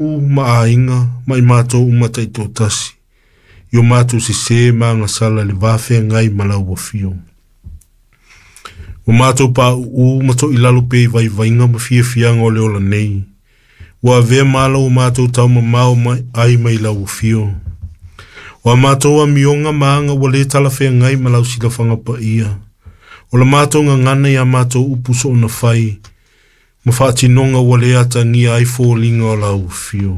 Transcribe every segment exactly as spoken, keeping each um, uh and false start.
Ma aiga ma i matou uma taitoatasi i o matou sesē ma agasala i le va feagai ma lau afio. Ua matou pauu ma toilalo pea i vaivaiga ma fiafiaga o le ola nei. Ua avea ma ala ua matou taumamao mai ai mai lau afio. O a matou amioga ma aga ua lē talafeagai ma lau silafaga paia. O la matou gagana i a matou upu soona fai, ma faatinoga ua lē atagia ai foliga o lau afio.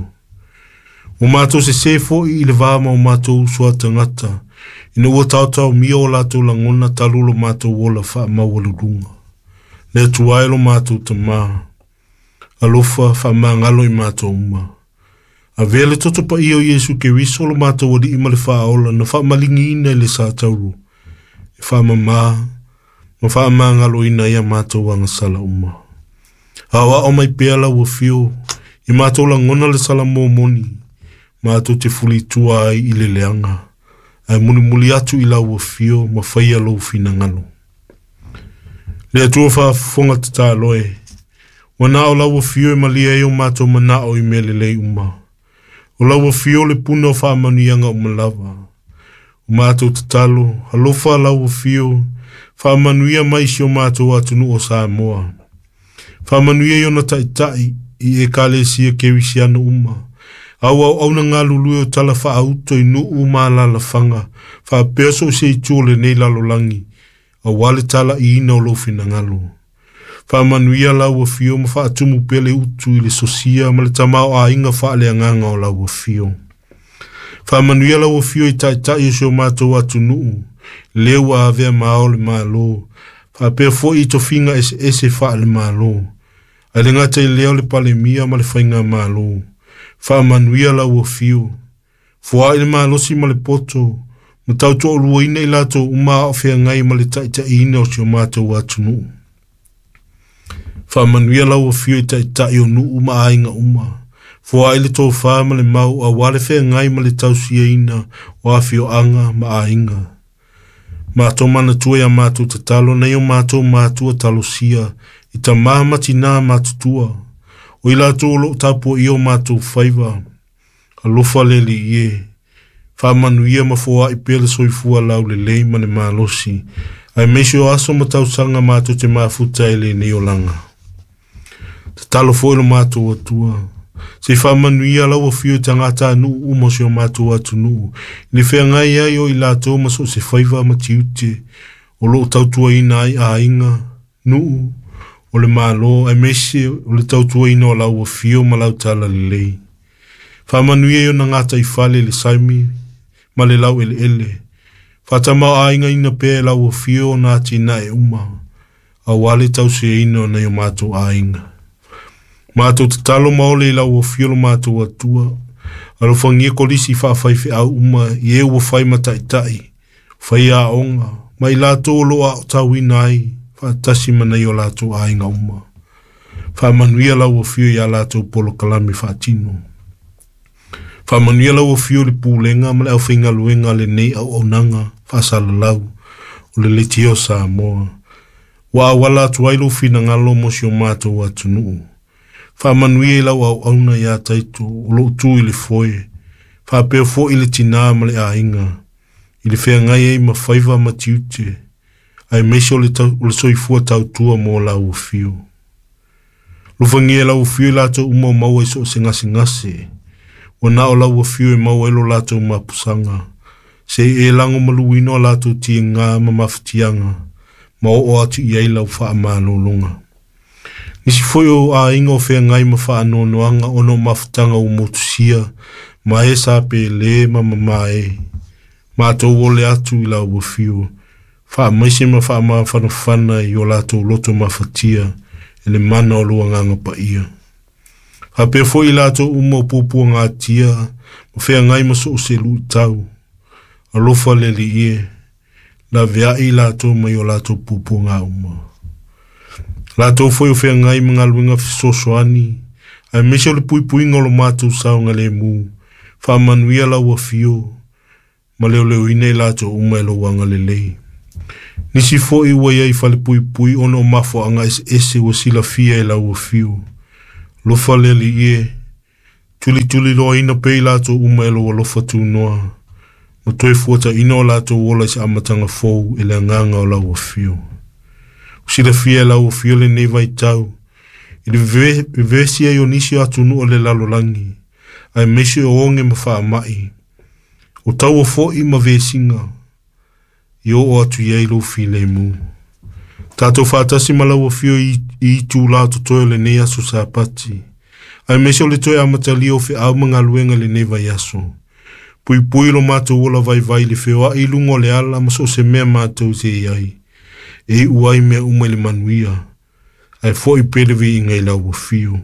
Ua matou sesē foi i le va ma o matou uso a tagata, ina ua taotaomia o latou lagona talu lo matou ola faamaualuluga. Le Atua e lo matou Tamā, alofa faamagalo i matou uma. Avea le toto paia o Iesu Keriso lo matou Alii ma le Faaola na faamaligiina i le satauro, e faamamā ma faamagaloina ai a matou agasala uma. Aoao mai pea lau afio, i matou lagona le salamo moni, matou te fulitua ai i le leaga, ae mulimuli atu i lau afio ma faia lou finagalo. Le Atua faafofoga tatalo e, ua na o lau afio e malie ai o matou manao i mea lelei uma. O lau afio le puna o faamanuiaga uma lava. O matou tatalo, alofa lau afio, faamanuia mai si o matou atunuu o Samoa. Faamanuia i ona taitai i ekalesia kerisiano uma. Au auauna galulue o tala faauto i nuu ma alaalafaga, faapea so o se itu o lenei lalolagi, auā le talaiina o lou finagalo. Faamanuia lau afio ma faatumu pea le utu i le sosia ma le tamaoaiga faaleagaga o lau afio. Faamanuia lau afio i taitai o si o matou atunuu, lea ua avea ma ao o le Malo, faapea foi i tofiga eseese faale-Malo. Ae le gata i lea o le Palemia ma le Faigamalo. Faamanuia lau afio. Foai le malosi ma le poto, ma tautoaluaina i latou uma a o feagai ma le taitaiina o si o matou atunuu. Faamanuia lau afio i taitai o nuu ma aiga uma. Foai le tofā ma le mau auā le feagai ma le tausiaina o afioaga ma aiga. Matou manatua i a matou tatalo nai o matou matua talosia i tamā ma tinā matutua. O i latou o loo tapuaia o matou faiva. Alofa le Alii e. Faamanuia ma foai pea le soifua laulelei ma le malosi. Aemaise o aso ma tausaga matou te mafuta ai i lenei olaga. Tatalo foi lo matou Atua. Se i faamanuia lau afio i tagatanuu uma o si o matou atunuu, i le feagai ai o i latou ma so o se faiva ma tiute, o loo tautuaina ai aiga, nuu, o le Malo, aemaise o le tautuaina o lau afio ma lau talalelei. Faamanuia i ona gataifale le saimi ma le laueleele. Faatamaoaigaina pea e lau afio ona atinae uma, auā le tausiaina o nai o matou aiga. Matou tatalo ma ole i lau afio lo matou Atua. Alofagia kolisi faafaifeau uma i e ua fai ma taitai, faiaoga, ma i latou o loo aotauina ai, faatasi ma nai o latou aiga uma. Faamanuia lau afio i a latou polokalame faatino. Faamanuia lau afio i le pulega ma le aufaigaluega a lenei auaunaga faasalalau o le Leitio o Samoa. Ua auala atu ai lou finagalo mo si o matou atunuu. Faamanuia i lau auauna ia Taito o loo tu i le foe, faapea foi le tinā ma le aiga, i le feagai ai ma faiva ma tiute, aemaise o le, tau, o le soifua tautua mo lau afio. Alofagia e lau afio i latou uma o maua i so o se gasegase, ua na o lau afio e maua ai lo latou mapusaga, se i e lagomaluina o latou tiga ma mafatiaga, ma oo atu i ai lau faamalologa. Nisi foi o aiga o feagai ma faanoanoaga ona o mafutaga ua motusia, ma e sa pelē ma mamae. Matou ole atu i lau afio, faamaise ma faamafanafana i o latou loto mafatia e le mana o lou agaga paia. Faapea foi i latou uma o puapuagatia ma feagai ma so o se luitau. Alofa le Alii e, laveai i latou mai o latou puapuaga uma. Latou foi o feagai ma galuega fesoasoani, aemaise o le puipuiga o lo matou saogalemu. Faamanuia lau afio ma leoleoina i latou uma e lou agalelei. Nisi foi ua iai i falepuipui ona o mafuaaga eseese ua silafia e lau afio. Alofa le Alii e, Tulituliloaina pea i latou uma e lou alofa tunoa, ma toe fuataina o latou ola i se amataga fou e le agaga o lau afio. Ua silafia e lau afio lenei vaitau, i le vevesi ai o nisi o atunuu o le lalolagi, aemaise o oge ma faamai, o taua foi ma vesiga, i oo atu i ai lou filemu. Tatou faatasi ma lau afio i itulā o totoe o lenei aso Sapati, aemaise o le toe amatalia o feau ma galuega i lenei vaiaso. Puipui lo matou ola vaivai i le feoai i luga o le ala ma so o se mea matou te i ai, e iu ai mea uma i le manuia, ae foi pea le viiga i lau afio.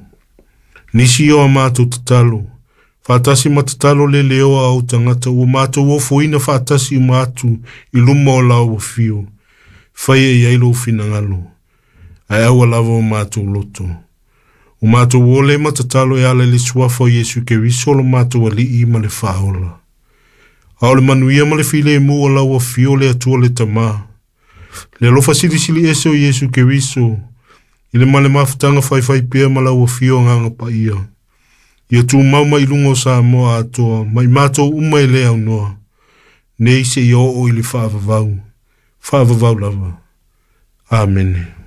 Nisi o a matou tatalo, faatasi ma tatalo le leoa a ou tagata ua matou ofoina faatasi uma atu i luma o lau afio, faia i ai lou finagalo, ae aua lava o matou loto. O matou ole ma tatalo e ala i le suafa o Iesu Keriso lo matou Alii ma le Faaola. A o le manuia ma le filemu o lau afio le Atua le Tamā, le alofa silisili ese o Iesu Keriso, i le ma le mafutaga faifai pea ma lau afio Agaga Paia, ia tumau mai i luga o Samoa atoa, ma i matou uma e le aunoa, nei seia oo i le faavavau, faavavau lava. Amene.